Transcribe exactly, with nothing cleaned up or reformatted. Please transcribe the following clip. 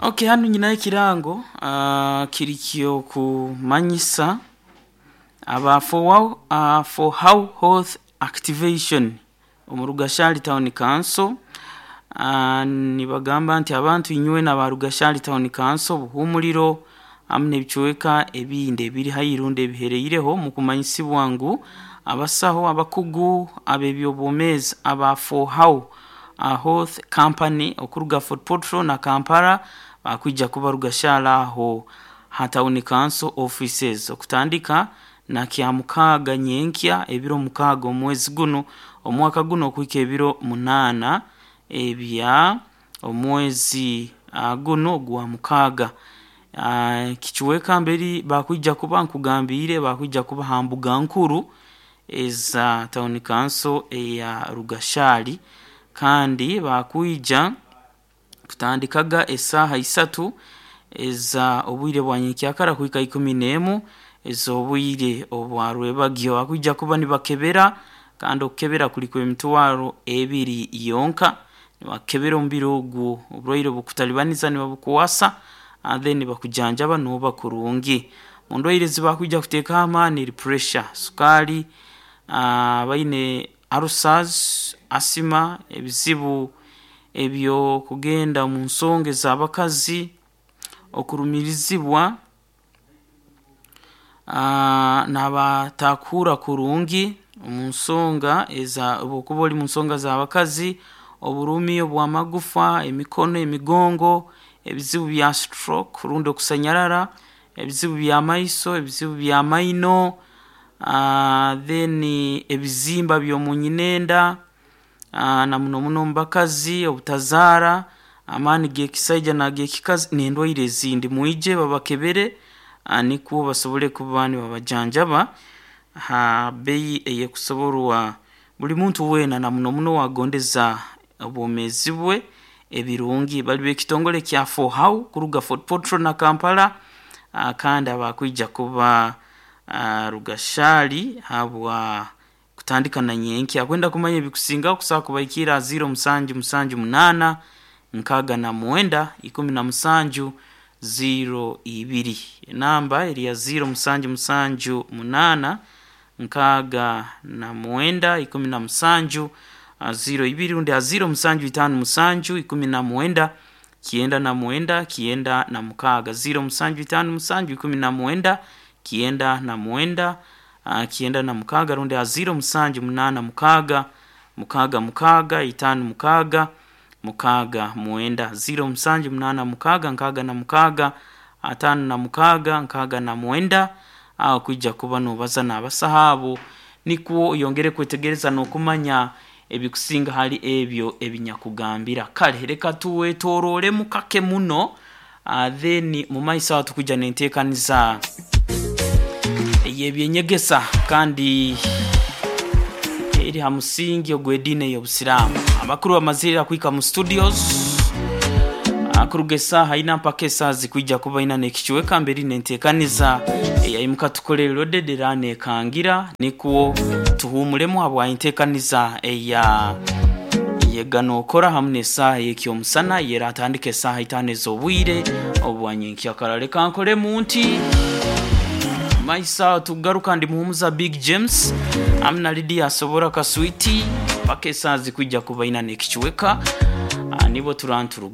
Okay, hanu nyinayo ekirango uh, kiri kyokumanyisa aba for, uh, for how health activation omu Rugashari Town Council. uh, nibagamba nti abantu inywe n'aba Rugashari Town Council, Buhumuliro hamu n'ebicweka ebindi ebiri haihi rundi ebihereireho, mukumanyisibwa ngu abasaho abakugu ab'ebyobwomeezi aba for how uh, health company okuruga Fort Portal na Kampala bakwija kuba Rugashari aho ha town council offices okutandika na Kyamukaaga nyenkya, ebiro mukaaga omwezi guno omwaka guno, okuhika ebiro munaana ebya omwezi uh, guno gwa mukaaga. uh, kicweka mberi bakwija kuba nkugambiire bakwija kuba ha mbuga nkuru eza town council eya Rugashari, kandi bakwija kutandikaga esaaha isatu eza obwire bwa nyenkyakara kuhika ikumi n'emu ez'obwire obwa rwebagyo. Bakwija kuba nibakebera, kandi okukebera kuli kw'emitwaro ebiri yonka. Nibakebera omubiri ogu, oburwaire obukutalibaniza nibabukwasa, then bakujanjaba nooba kurungi. Mu ndwaire ezibakwija kuteekaho amaani eri pressure, sukaali, uh, baine ulcers, asthma, ebizibu ebyokugenda mu nsonga ez'abakazi, okurumirizibwa, uh, n'abatakuhurra kurungi omu nsonga eza obu okuba oli mu nsonga z'abakazi, oburumi obw'amagufa, emikono, emigongo, ebizibu bya stroke rundi okusanyarara, ebizibu by'amaiso, ebizibu by'amaino, uh, then ebizimba by'omu nyinenda, uh, na muno muno omu bakazi, obutazaara, amaani g'ekisaija n'ag'ekikazi n'endwaire ezindi. Mwije babakebere, uh, nikwo basobole kuba nibabajanjaba ha bbeyi ey'ekusoborwa buli muntu weena, na muno muno owagondeza obwomeezi bwe ebirungi. Bali b'ekitongole kya four how kuruga Fort Portal na Kampala, uh, kandi abakwija kuba uh, Rugashari habwa kutandika na nyenkya. Kwenda kumanya ebikusingaho kusobola kubahikiira ziro musanju musanju munaana nkaaga na mwenda ikumi na musanju ziro ibiri. Enamba eri ya ziro musanju musanju munaana nkaaga na mwenda ikumi na musanju ziro ibiri, rundi ha ziro musanju itaano musanju ikumi na mwenda kyenda na mwenda kyenda na mukaaga, ziro musanju itaano musanju ikumi na mwenda kyenda na mwenda uh, kyenda na mukaaga, rundi ha ziro musanju munaana mukaaga mukaaga mukaaga itaano mukaaga mukaaga mwenda, ziro musanju munaana mukaaga nkaaga na mukaaga ataano na mukaaga nkaaga na mwenda. Aho kwija kuba nobaza n'abasaho abo nikwo oyongere kwetegereza n'okumanya ebikusinga hali ebyo ebinyakugambira. Kale reka tuwetorooremu kake muno, uh, then mu maiso aho tukwija n'enteekaniza ey'ebyenyegesa kandi eri ha musingi ogw'ediini ey'obusiraamu. Abakuru bamazire kuhika mu studios kuruga esaaha ina mpaka esaaha zikwija kuba ina n'ekicweka mberi n'enteekaniza eyaimuka tukolere loaded era neekangira, nikwo tuhuumulemu habwa enteekaniza eya yeganookora hamu n'esaaha ey'ekyomusana yeratandika esaaha itaano ez'obwire obwa nyenkyakara. Leka nkolemu nti maiso tugaruka ndi muhumuza Big James hamu na Lydia Asobora Kaswiti mpaka esaaha zikwija kuba ina n'ekicweka, nibo turanturuga.